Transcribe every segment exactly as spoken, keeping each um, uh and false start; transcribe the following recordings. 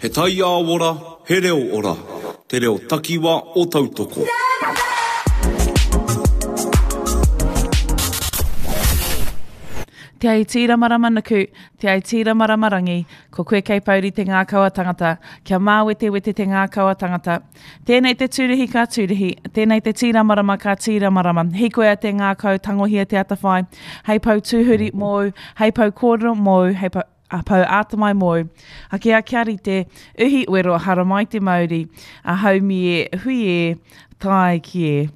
He taiao ora, he reo ora. Te reo takiwa o Tautoko. Te ai tīramarama nuku, te ai tīramarama rangi, ko koe kei pouri te ngākau a tangata, kia māwetewete te ngākau a tangata. Tēnei te tūrihi ka tūrihi, tēnei te tīramarama ka tīramarama, hikoia te ngākau, tangohia te atawhai, hei pou tūhuri mōu, hei pou kōrero mōu, hei pou a pou ātamai mōu. Ake a kia rite, uhi wero haramai te mauri, a haumi e, hui e, tae ki e.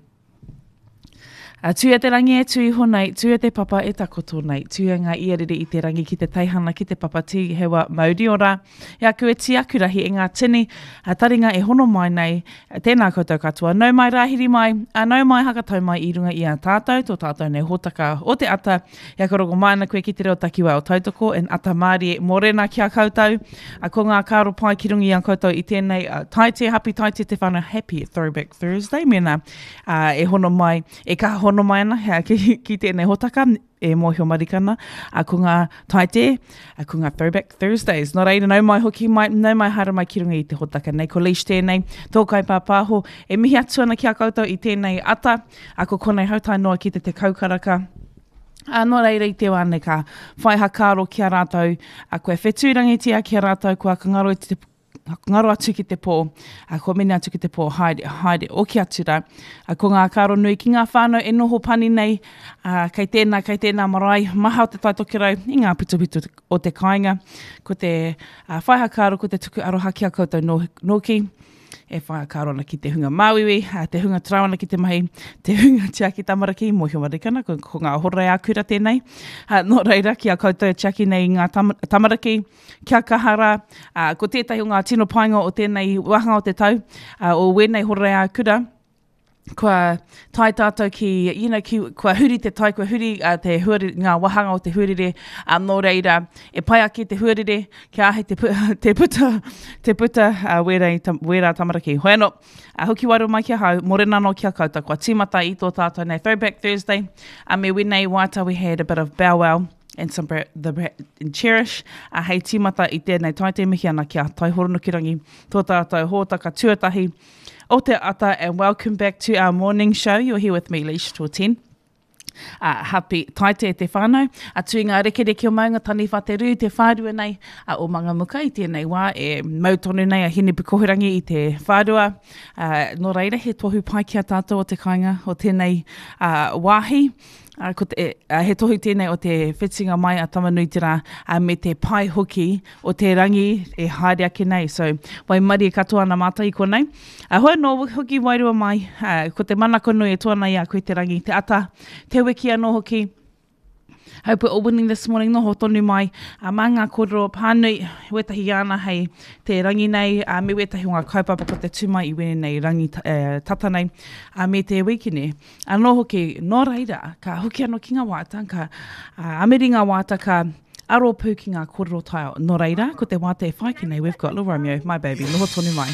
A tuia te rangi e tū iho nei, tuia te papa e takoto nei, tuia ngā iarere i te rangi ki te teihana ki te papa tīhewa mauri ora. E aku e tiakurahi e ngā tini, a taringa e hono mai nei, tēnā koutou katoa. Nau mai rāhiri mai, a nau mai hakatau mai i runga i a tātou, tō tātou nei hōtaka o te ata. E aku rongo mai ana koe ki te reo takiwā o Tautoko, en ata mārie mōrena ki a koutou. A ko ngā kāro pai ki runga i a koutou i tēnei uh, taite, happy taite te whānau, happy Throwback Thursday, mēnā uh, e hono mai, e kaha hono mai ana hea, ki, ki tēnei hōtaka, e mōhio marikana, a ko ngā taite, a ko ngā Throwback Thursdays. Nō reira, nau mai hoki mai, nau mai haere mai ki runga i te hōtaka nei. Ko Leish tēnei, tō kaipāpāho, e mihi atu ana ki a koutou i tēnei ata, a ko konei hautai noa ki te te kaukaraka. A nō reira i te wā nei ka whai hakaaro ki a rātou, a koe whetūrangitia ki a rātou, kua kangaro i te ngaro atu ki te pō, a kua mene atu ki te pō, haere, haere, oki atu rā. A ko ngā kāro nui ki ngā whānau e noho pani nei, a, kei tēnā, kei tēnā marae, maha o te taitokerau i ngā pitopito o te kāinga. Ko te a, whai hakaaro, ko te tuku aroha ki a koutou nō, nōki, e whai hakaaro ana ki te hunga māuiui, a, te hunga tarau ana ki te mahi, te hunga tiaki tamariki, mōhio marikana, ko, ko ngā horoi ā-kura tēnei. A, nō reira, ki a koutou e tiaki nei i ngā tam, tamariki, kia kaha rā, a, ko tētahi o ngā tino painga o tēnei wāhanga o te tau, a, o wēnei horoi ā-kura, kua tae tātou ki, you know, ki, kua huri te tai, kua huri uh, te huarere, ngā wāhanga o te huarere, uh, nō reira, e pai ake te huarere, kia āhei te, pu, te puta, te puta uh, wērā, tam, wērā tamariki. Hoi anō, uh, hoki wairo mai ki ahau, mōrena anō ki a koutou, kua tīmata i tō tātou nei Throwback Thursday, uh, me wēnei waiata we had a bit of Bow Wow and some bra, the bra, and Cherish, uh, hei tīmata i tēnei taite mihi ana ki a Taihoronukurangi, tō tātou hōtaka tuatahi o te ata, and welcome back to our morning show. You're here with me, Leish, till ten. Uh, happy taite te whānau. Atu i ngā rekereke o Maunga Taniwha te rū, te whārua nei uh, o Mangamuka i tēnei wā e mau tonu nei a Hinepukohurangi i te whārua. Uh, nō reira, he tohu pai ki a tātou o te kāinga o tēnei uh, wāhi. Uh, ko te, uh, he tohu tēnei o te whitinga mai a Tamanui te rā, uh, me te pai hoki o te rangi e haere ake nei. So, waimarie katoa ana mātou i konei. Uh, hoi anō hoki wairua mai, uh, ko te manako nui e toa nei a koe te rangi, te ata, te wiki anō hoki. Hope we're all winning this morning, noho tonu mai. Uh, mā ngā kōrero pānui, wētahi ana hei te rangi nei, uh, me wētahi o ngā kaupapa ko te tū mai i wēnei nei rangi uh, tata nei, uh, me te wikine. Anō hoki, nō reira, ka hoki anō ki ngā wāta, ka uh, ameri ngā wāta, ka aro pū ki ngā kōrero taiao. Nō reira, ko te wāta e whai ki nei, we've got Lil Romeo, my baby, noho tonu mai.